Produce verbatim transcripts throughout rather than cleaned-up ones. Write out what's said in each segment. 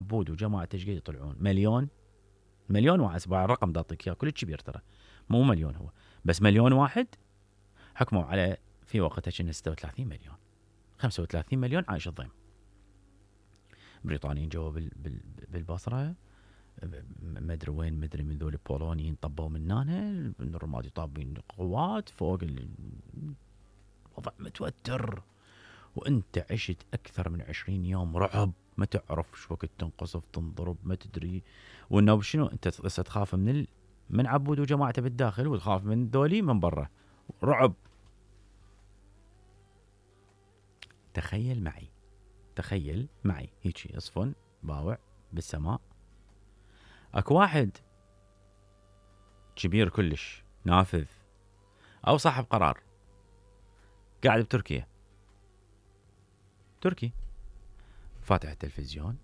عبود وجماعته ايش قد يطلعون؟ مليون مليون واحد. اسمع الرقم دا اعطيك اياه كلش كبير ترى، مو مليون هو بس مليون واحد. حكموا على في وقتها كنا ستة وثلاثين مليون، خمسة وثلاثين مليون عايش الضيم. بريطانيين جوا بالبصره، ما ادري وين، ما ادري من ذول البولونيين طبوا من هنا، الرمادي طابين قوات فوق. الوضع متوتر، وانت عشت اكثر من عشرين يوم رعب، ما تعرف شو وقت تنقصف تنضرب ما تدري. وانه شنو انت تخاف من ال... من عبود وجماعته بالداخل، وتخاف من ذولي من برا، رعب. تخيل معي تخيل معي هيك يصفن باوع بالسماء، اكو واحد كبير كلش نافذ او صاحب قرار قاعد بتركيا، تركي فاتح التلفزيون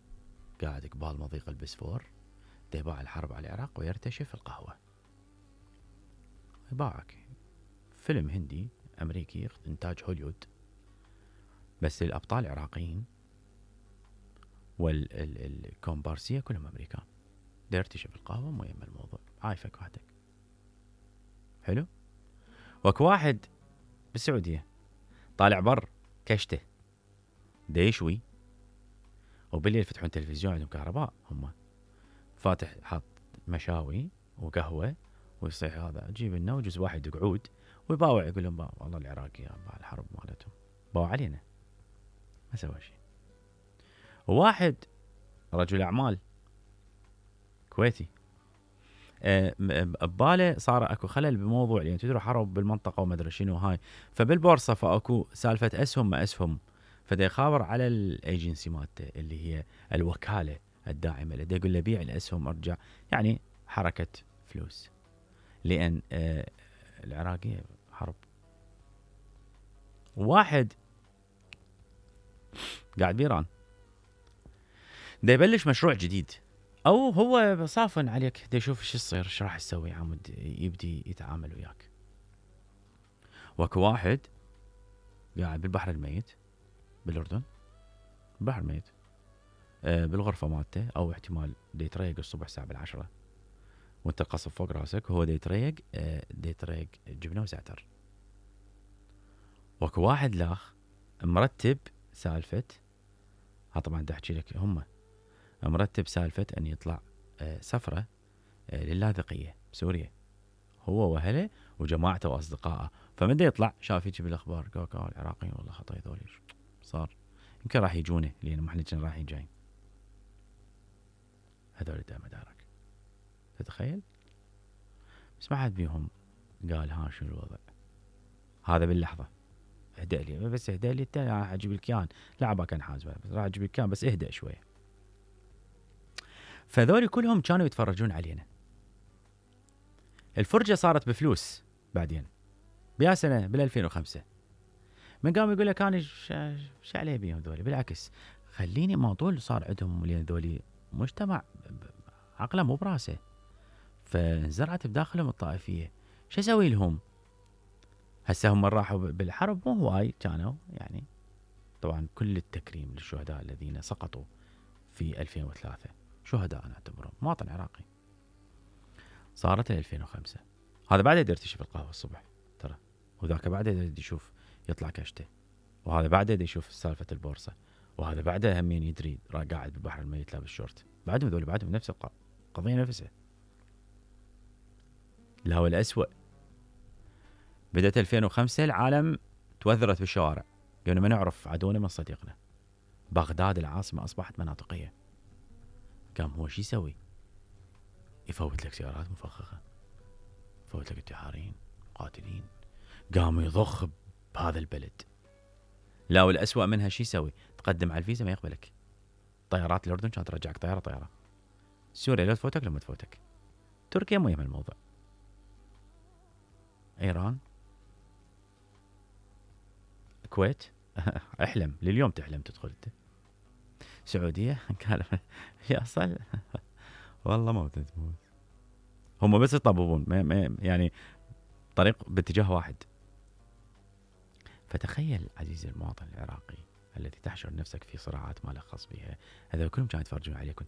قاعد قبال مضيق البسفور، يباع الحرب على العراق ويرتشف القهوة. يباعك فيلم هندي امريكي انتاج هوليوود، بس الابطال العراقيين والكومبارسية كلهم امريكان. يرتشف القهوة مو يم الموضوع، عايفك وحدك. حلو. وك واحد بالسعودية طالع بر كشته ديشوي، وبالليل يفتحون تلفزيون عندهم كهرباء، هم فاتح حاط مشاوي وقهوة، ويصيح هذا جيب لنا وجز واحد قعود ويباوع يقول لهم والله العراقي مع الحرب مالتهم باوع علينا، ما سوى شيء. وواحد رجل اعمال كويتي بباله صار اكو خلل بموضوع، يعني تدروا حرب بالمنطقه وما ادري شنو هاي، فبالبورصه فاكو سالفه اسهم ما اسهم، فدا يخابر على الايجنسي مالته اللي هي الوكاله الداعمه له، يقول له بيع الاسهم ارجع، يعني حركه فلوس، لان آه العراقيه حرب. واحد قاعد بإيران دا يبلش مشروع جديد، او هو صافن عليك دا يشوف شو يصير، ايش راح يسوي عمود يبدي يتعامل وياك. واكو واحد قاعد بالبحر الميت بالاردن، البحر الميت آه بالغرفه مالته، او احتمال دا يتريق الصبح الساعه بالعشرة وانت القصب فوق راسك، وهو دا يتريق آه دا يتريق جبنه وزعتر. واكو واحد لاخ مرتب سالفه، ها طبعا دا احكي لك، هم مرتب سالفه ان يطلع آه سفره آه للاذقيه بسوريا، هو واهله وجماعته واصدقائه. فمن دا يطلع شاف يجي بالاخبار قال قال العراقيين والله خطا ذولي صار، يمكن راح يجونه لان ما احنا كنا رايحين جايين. هذول دا مدارك تتخيل. بس ما حد بيهم قال ها شنو الوضع هذا باللحظه. اهدأ لي بس اهدأ لي، الثاني راح اجيب لك اياه، لعبه كان حازمه بس راح اجيب لك اياه، بس اهدأ شويه. فذولي كلهم كانوا يتفرجون علينا. الفرجه صارت بفلوس بعدين بيا سنه بال ألفين وخمسة، من قام يقول لك انا ايش عليه بيهم ذولي، بالعكس خليني موضوع صار عندهم، لان ذولي مجتمع عقله مو براسه، فانزرعت بداخلهم الطائفيه. شو اسوي لهم؟ هسه هم راحوا بالحرب مو هواي كانوا، يعني طبعا كل التكريم للشهداء الذين سقطوا في ألفين وثلاثة، شهداء نعتبرهم مواطن عراقي. صارت ألفين وخمسة، هذا بعد يقدر يرتشف القهوه الصبح ترى، وذاك بعد يقدر يشوف يطلع كشته، وهذا بعده يقدر يشوف سالفه البورصه، وهذا بعده همين يدري قاعد بالبحر الميت لابس شورت. بعدهم ذول بعدهم نفس القضيه نفسها. الهوى الأسوأ بدأت ألفين وخمسة، العالم توثرت بالشوارع، قالوا ما نعرف عدونا من صديقنا. بغداد العاصمة أصبحت مناطقية. قام هو شو يسوي؟ يفوت لك سيارات مفخخة، يفوت لك انتحاريين قاتلين، قام يضخ بهذا البلد. لا والأسوأ منها شو يسوي؟ تقدم على الفيزا ما يقبلك. طيارات الأردن كانت ترجعك طيارة طيارة، سوريا لا تفوتك لما تفوتك، تركيا مو يهم الموضوع، إيران، الكويت احلم لليوم تحلم تدخل انت. سعودية قال يا صل والله موت تموت. هم بس يطببون يعني طريق باتجاه واحد. فتخيل عزيزي المواطن العراقي الذي تحشر نفسك في صراعات ما لك خص بها، هذا كلهم كانوا يتفرجون عليك وانت